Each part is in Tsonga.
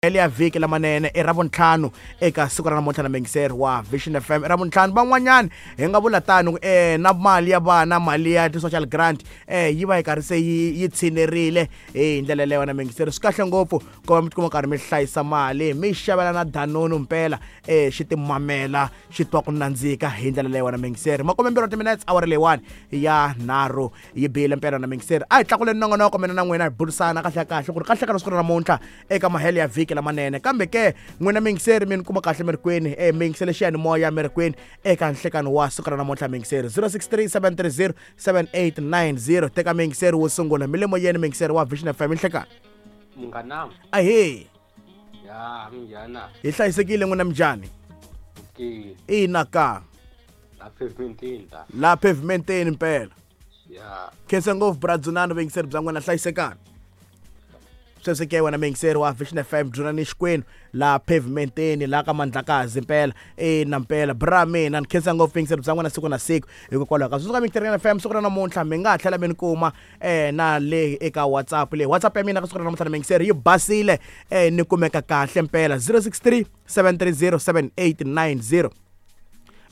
Ya vhiki lamanene i Ravuntlhanu eka siku ra namuntlha na mingiseri wa Vision FM. I Ravuntlhanu, van'wanyani hi nga vula tano na mali ya vana, mali ya ti-social grant yi va yi karhi se yi tshinerile hi ndlela yeleyo na mingiseri. Swi kahle ngopfu ku va mi tikuma karhi mi hlayisa mali, mi xavela na Danone mpela, xi timamela xi twa ku nandzika hi ndlela leyo na mingiseri. 20 timinutes awara leyiwani ya 3 yi bile mpela na mingiseri. A hi tlakuleni nongonoko mina na n'wina hi burisana kahle kahle ku ri kahle ka siku ra namuntlha eka mahelo ya vhiki lamanene. Kambe ke n'wina mingiseri mi ni kuma kahle mi ri kwini, mi yingisele xiyanimoya mi ri kwini eka nhlekani wa siku ra namuntlha mingiseri. 063 730 7890. Teka mingiseri wo sungula mi le moyeni, mingiseri wa Vision FM nhlekani. Munghana. Ahee. Ya, minjhana. Hi hlayisekile n'wina minjhani? Okay. Ina ka. La pavementeni la. La pavementeni mpela. Ya. Khensa ngopfu bra Dzunani, vuyingiseri bya n'wina, hlayisekani. Sweswi ke wena mingiseri wa Vision FM Dzunani Xikwenu la pavementeni la ka Mandlakazi mpela. Ina mpela bra mina ni khensa ngopfu vuyingiseri bya n'wina siku na siku. Hikokwalaho ka sweswi ka mingiseri FM siku ra namuntlha mi nga ha tlhela mi ni kuma na le eka WhatsApp le. WhatsApp ya mina ka siku ra namuntlha na mingiseri yi basile, ni kumeka kahle mpela 063 730 7890.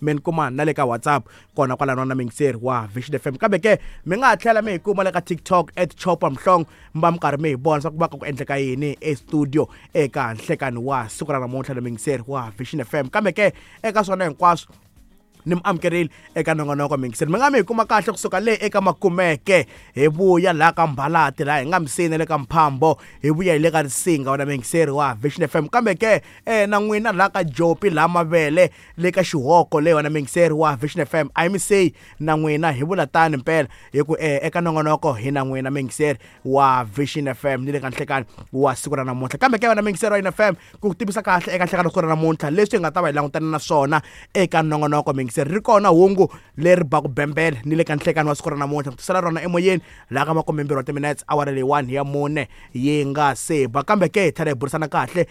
Mi ni kuma na le ka WhatsApp kona kwalano na mingiseri wa Vision FM. Kambe ke mi nga ha tlhela mi hi kuma le ka TikTok at Chopa Mhlongo, mi va mi karhi mi hi vona swa ku va ka ku endleka yini e studio eka nhlekani wa siku ra namuntlha na mingiseri wa Vision FM. Kambe ke eka swona hinkwaswo ni mi amukerile eka nongonoko mingiseri. Mi nga mi hi kuma kahle kusuka le eka Makumeke hi vuya laha ka Mbalati, laha hi nga misini le ka Mphambo, hi vuya hi le ka Risinga wena mingiseri wa Vision FM. Kambe ke na n'wina laha ka Jopi, laha Mavele, le ka Xihoko le wena mingiseri wa Vision FM, a hi mi seyi na n'wina hi vula tani mpela hi ku eka nongonoko hi na n'wina mingiseri wa Vision FM ni le ka nhlekani wa siku ra namuntlha. Kambe ke wena mingiseri wa FM, ku tivisa kahle eka nhlekani wa siku ra namuntlha leswi hi nga ta va hi langutana na swona eka nongonoko mingiseri. Ri kona hungu leri baku bembele ni le ka nhlekani wa siku ra namuntlha, ku tisela rona emoyeni laha ka 20 wa timinutes awara leyi 1 ya 4 yi nga se ba. Kambe ke hi tlhela hi burisana kahle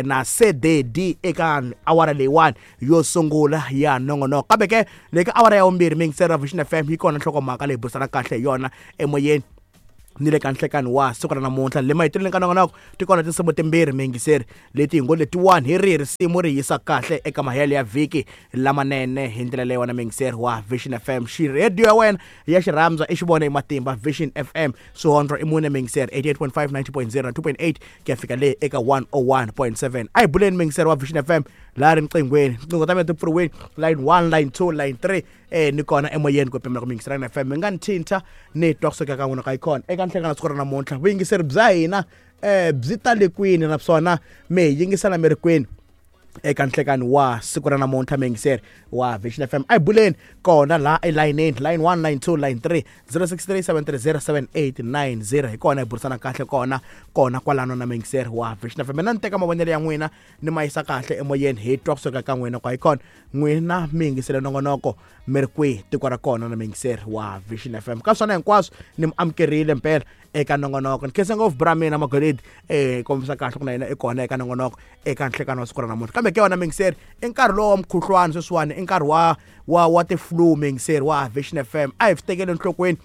na CDD eka awara leyi 1 yo sungula ya nongonoko. Kambe ke le ka awara ya 2 mingiseri wa Vision FM yi kona nhlokomhaka leyi burisana kahle hi yona emoyeni ni le ka nhlekani wa siku ra namuntlha. Le maheteleleni ka nongonoko ti kona tinsimu timbirhi mingiseri leti hi ngo letiwani hi rihi risimu ri yisa kahle eka mahelo ya vhiki lamanene hi ndlela leyi wena mingiseri wa Vision FM. Xirediyo ya wena ya xirhandza i xi vone hi matimba Vision FM swihondlo i mune mingiseri 88.5, 90.0 na 2.8 ku ya fika le eka 101.7. A hi buleni mingiseri wa Vision FM laha riqinghweni, tinqingho ta mina ti pfuriwile line 1, line 2, line 3 ni kona emoyeni ku pimela ku mingiseri na FM. Mi nga ni thinta ni twa kusuka ka n'wina ka yi kona eka nhlekani siku ra namuntlha. Vuyingiseri bya hina byi tale kwini naswona mi hi yingisela mi ri kwini eka nhlekani wa siku ra namuntlha mingiseri wa Vision FM. A hi buleni kona laha elayinini, line 1, line 2, line 3, 063 730 7890. Hi kona hi burisana kahle kona kona kwalano na mingiseri wa Vision FM. Mina ni teka mavonelo ya n'wina ni ma yisa kahle emoyeni hi twa kusuka ka n'wina kwa hi kona n'wina mi yingisele nongonoko mi ri kwihi tiko ra kona na mingiseri wa Vision FM. Ka swona hinkwaswo ni mi amukerile mpela eka nongonoko. Ni khensa ngopfu bra mina Magolidi, kombisa kahle ku na yena i kona eka nongonoko eka nhlekani wa siku ra namuntlha. Kambe ke wena mingiseri, i nkarhi lowu wa mukhuhlwani sweswiwani, i nkarhi wa ti-flu mingiseri wa Vision FM. A hi swi tekeli enhlokweni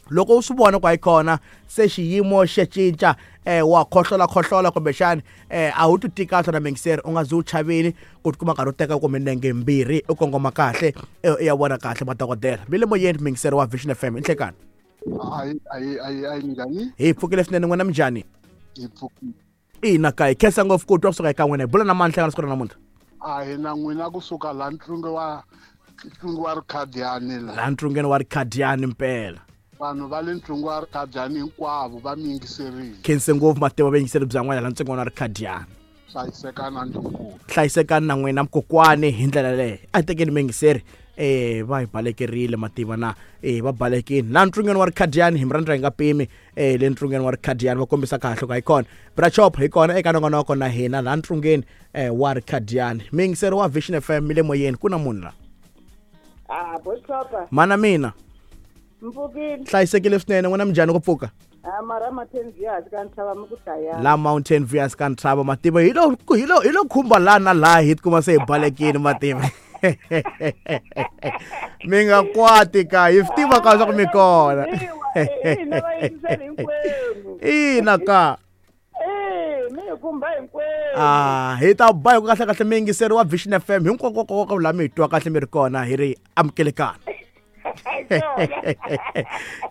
loko u swi vona ku hayi kona se xiyimo xa cinca, wa khohlola khohlola kumbexani a wu ti kahle na mingiseri, u nga zi u chavile ku tikuma nkarhi u teka ku minenge mbirhi u kongoma kahle u ya vona kahle madokodela. Mi le moyeni mingiseri wa Vision FM, i nhlekani. Ayi minjhani? Hi pfukile swinene, n'wina minjhani? Hi pfukile. Ina ka hi khensa ngopfu ku twa kusuka eka n'wina. Hi bula na mani nhlekani siku ra namuntlha? A hi na n'wina kusuka laha ntlunge wa ntlunge wa Rikhadiyani la. Laha ntlungeni wa Rikhadiyani mpela. Vanhu va le ntlunge wa Rikhadiyani hinkwavo va mi yingiserile. Khense ngopfu mativa vuyingiseri bya n'wina laha ntsungeni wa Rikhadiyani. Hlayisekani na ndlunkulu. Hlayisekani na n'wina mkokwani hi ndlela leyi. A hi tekeni miyingiseri. Va hi balekerile mativa na va balekile laha ntlungeni wa Rikhadiyani. Hi mi rhandza hi nga pimi le ntlungeni wa Rikhadiyani, va kombisa kahle ku hi kona bra Chop hi kona eka nongonoko na hina laha ntlungeni wa Rikhadiyani. Miyingiseri wa Vision FM mi le moyeni, ku na munhu la. Ah, bochopa. Mana mina. Mpfukile. Hlayisekile swinene, n'wina minjhani ku pfuka? Ah, mara Mountain View hansi ka ntshava mi ku dlayana. La Mountain View hansi ka ntshava mativa hi lo hi lo hi lo khumba laha na laha hi tikuma se hi balekile mativa. Mi nga kwati ka hi swi tiva ka swa ku mi kona. Ina va yingiseli hinkwenu. Ina ka. Mi Mi hi khumba hinkwenu. Ah, hi ta ba hi ku kahle kahle miyingiseri wa Vision FM hinkwako laha mi hi twa kahle mi ri kona hi ri amukelekana. Hi swona.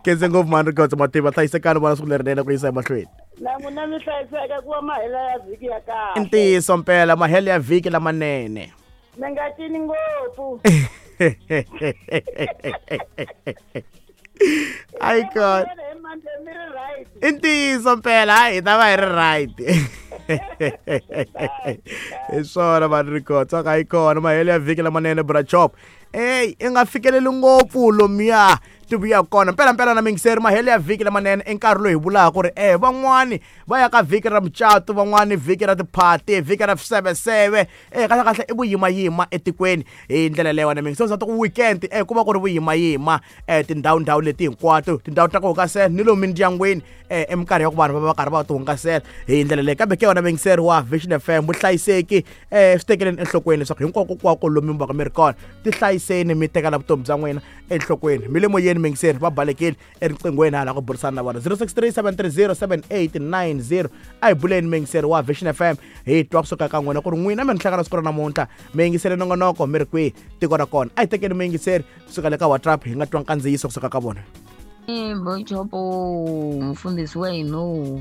Khense ngopfu mhani Rikhotso Mativa, hlayisekani vona siku lerinene ku yisa emahlweni. Na n'wina mi hlayiseka ku va mahela ya vhiki ya I kahle. ntiyiso mpela mahelo ya vhiki lamanene. Mi nga cini ngopfu. Ayi kona. Hi Monday mi ri right. I ntiyiso mpela hayi hi ta va hi ri right. Hi swona vanhu Rikhotso ka yi kona mahelo ya vhiki lamanene bra chop. Ey i nga fikeleli ngopfu lomuya ti vuya kona mpela mpela na mingiseri mahelo ya vhiki lamanene i nkarhi lowu hi vulaka ku ri van'wani va ya ka vhiki ra mucato, van'wani vhiki ra tiphati, vhiki ra swiseveseve, kahle kahle i vuyimayima etikweni hi ndlela leyo wena mingiseri za ku weekend ku va ku ri vuyimayima tindhawu ndhawu leti hinkwato tindhawu ta ku hungasela ni lomu mindyangwini eminkarhi ya ku vanhu va va karhi va ti hungasela hi ndlela leyi kambe ke wena mingiseri wa Vision FM vuhlayiseki swi tekeleni enhlokweni leswaku hinkwako kwako lomu mi vaka mi ri kona tihlayiseni mi tekela vutomi bya n'wina enhlokweni mi le moyeni mingiseri va balekile eriqinghweni hala ku burisana na vona 0637307890 a hi buleni mingiseri wa Vision FM hi twa kusuka ka n'wina ku ri n'wina mi ni hlangana siku ra namuntlha mi yingisele nongonoko mi ri kwihi tiko ra kona a hi tekeni miyingiseri kusuka le ka WhatsApp hi nga twa nkandziyiso kusuka ka vona. Bochopo mfundhisi wa hina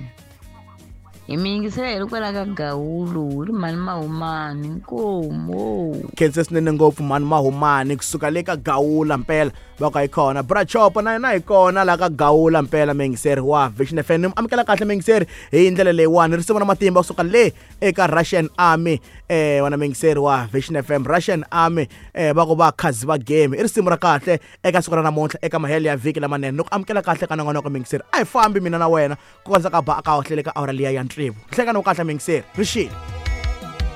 hi mi yingisela hi ri kwala ka Gawulo hi ri mhani Mahumani nkomo. Khense swinene ngopfu mhani Mahumani kusuka le ka Gawula mpela va ka hi kona bra Chopo na yena hi kona la ka Gawula mpela miyingiseri wa Vision FM ni amukela kahle miyingiseri hi ndlela leyiwani risimu ra matimba kusuka le eka Russian Army wena miyingiseri wa Vision FM Russian Army va ku va khazi va game i risimu ra kahle eka siku ra namuntlha eka mahelo ya vhiki lamanene ni ku amukela kahle ka nongonoko miyingiseri a hi fambi mina na wena ku kondza ka ba ka hohlele ka awara liya ya tsevu nhlekani wo kahle miyingiseri ri xile.